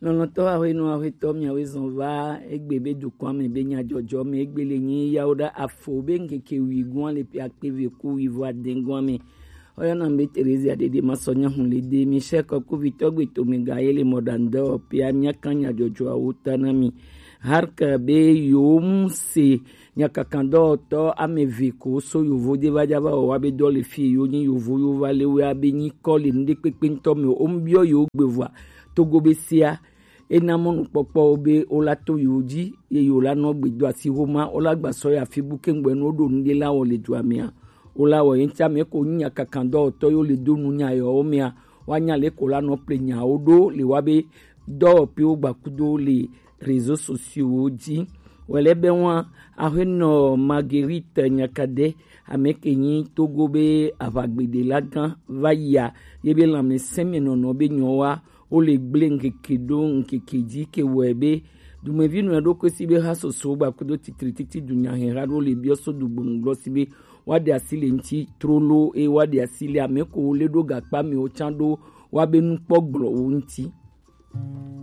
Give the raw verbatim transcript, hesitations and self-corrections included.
Lɔlɔ̃tɔ aƒenɔ aƒetɔ miawoe zɔn va egbe be dukɔa me be nyadzɔdzɔ me egbe le nyi yawo ɖe afo be ŋkeke wui gɔa le ƒe akpe eve ku wui vɔ ade gɔa me. Oyɔna be Terezia ɖeɖe masɔ nyahu le de mi sɛ kɔkuvitɔ gbe to me ga ye le mɔɖaŋdɔ pia miaka nyadzɔdzɔawo ta na mi. Harka be yewo mu se nyakakadɔwɔtɔ ame eve ko so yovo de va dza va wɔ wa be dɔ le fi yo nyi yovo yo va le wea be nyi kɔ le nuɖekpekpe ŋutɔ me o ŋbiɔ yewo gbe vɔa togo be sea ena mɔnukpɔkpɔwo be wola to yewo dzi ye yewo la nɔ gbe do asi homa wola gba sɔ ya fi bu kengbe no ɖo nuɖe la wɔ le dua mea wola wɔ yentsa me ko nya kakandɔ tɔ yo le do nu nya yɔ mea wa nya le ko la nɔ ple nyawo ɖo le wa be dɔwɔpiwo gba kudo le réseaux sociaux dzi wɛlɛ be wa aƒenɔ Marguerite Nyakade ame ke nyi togo be aʋagbede la gã va yia ye be lãmesẽ me nɔnɔ be nyɔ wa wo le gblẽ ŋkeke ɖo ŋkeke dzi ke wɔe be dumevi nɔ ɖokui si be ha soso gba kudo titri titi dunya hɛha ɖo le biɔ so dugbonu gblɔ si be wa ɖe asi le ŋti trolo eye wa ɖe asi le ame ko wo le ɖo gakpa me wo tsã ɖo wa be nukpɔ gblɔ wo ŋti.